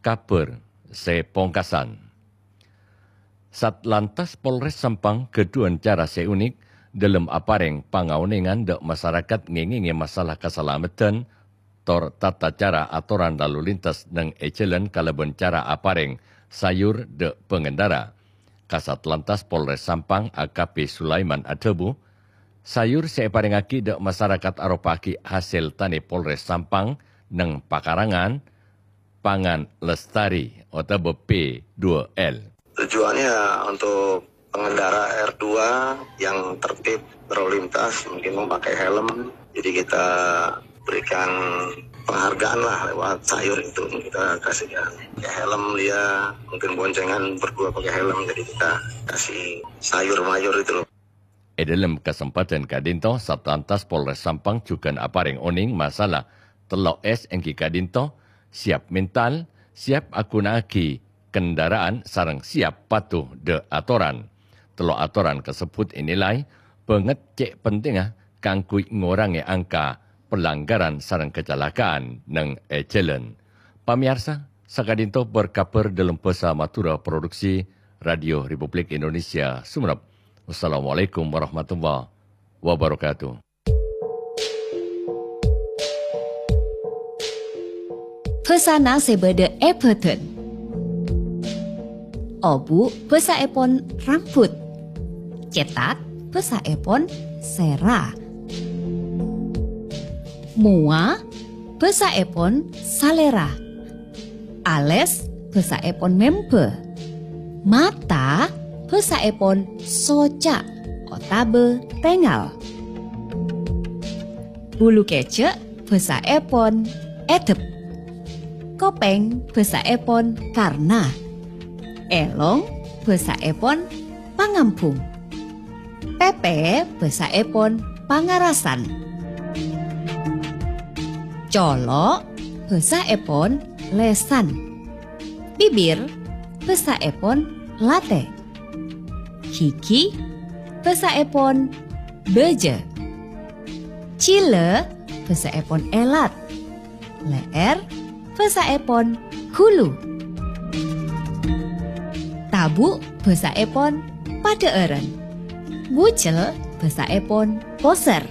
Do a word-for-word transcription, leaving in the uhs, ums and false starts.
Kabhâr sè pongkasan. Satlantas Polres Sampang ghâdhuwân cara sè unik dhâlem aparèng pangaonèngan dâ' masarakat ngèngèngè masalah kasalameddhân tor tata cara atoran lalu lintas neng è jhâlân kalabân cara aparèng sayur dâ' pangendara. Kasatlantas Polres Sampang A K P Sulaiman adhâbu, sayur sè èparèngaghi dâ' masarakat aropa'aghi hasèl tanè Polres Sampang neng pakarangan, Pangan Lestari otabâ P dua L. Tujuannya untuk pengendara R dua yang tertib berlalu lintas mungkin memakai helm. Jadi kita berikan penghargaan lah lewat sayur itu kita kasihkan. Pakai helm dia, mungkin boncengan berdua pakai helm, jadi kita kasih sayur mayur itu loh. È dhâlem kasempadhân ka'dinto, Satlantas Polres Sampang jhughân aparèng onèng masalah tello' S èngghi ka'dinto, siap mental, siap aghuna'aghi kendaraan sareng siap patuh dâ' atoran. Tello' atoran kasebbhut ènilai bângèt cè' pentingnga kaangghuy ngorangè angka pelanggaran sareng kacelakaan neng è jhâlân. Pamèyarsa, saka'dinto berkabhâr dhâlem bhâsa Madhurâ produksi Radio Republik Indonesia Sumenep. Wassalamualaikum warahmatullahi wabarakatuh. Bhâsana sè bâdâ è bhâdhân. Obu' bhâsaèpon rambut. Cètak bhâsaèpon sèra. Mowa bhâsaèpon salèra. Alès bhâsaèpon membhâ. Mata bhâsaèpon soca' otabâ tèngal. Bulu kèjhâ' bhâsaèpon èdhep. Kopèng bhâsaèpon karna. Èlong bhâsaèpon pangambhung. Pèpè bhâsaèpon pangarasan. Colo' bhâsaèpon lèsan. Bibir bhâsaèpon latè. Ghighi bhâsaèpon bâjâ. Jhilâ bhâsaèpon èlat. Lè'èr bhâsaèpon ghulu. Tabu' bhâsaèpon padhâ'ârân. Bucel bhâsaèpon posèr.